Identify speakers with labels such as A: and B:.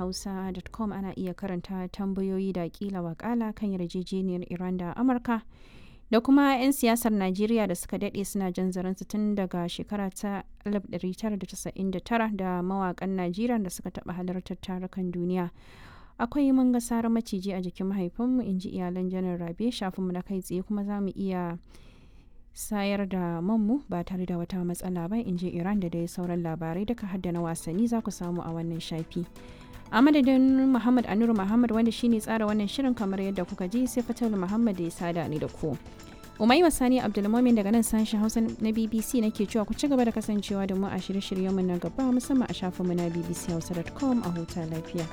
A: bbchausa.com ana iya karanta tambayoyi da kila wakala kan yarjejeniyar Iran da Amurka da kuma 'yan siyasar Najeriya da suka daɗe suna jan zaransu tun daga shekara ta 1999 da mawakan Najeriya da suka taɓa halartar tarukan duniya. Akwai mun ga sarar maciji a jikin mahaifinmu, in ji iyalan Janar Rabe. Shafinmu na kai tsaye kuma za mu iya sayar da manmu ba tare da wata matsala ba, in ji Iran, da dai sauran labarai duka hadda na wasanni za ku samu a wannan shafi. A madadin Muhammad Anuru Muhammad wanda shine tsara wannan shirin kamar yadda kuka ji, sai Fatal Muhammad da ya sada ni da ku. Umaima Sani Abdulmomin daga nan sashen Hausa na BBC nake cewa ku ci gaba da kasancewa da mu a shirye-shiryenmu na gaba, musamman a shafinmu na bbchausa.com. A huta lafiya.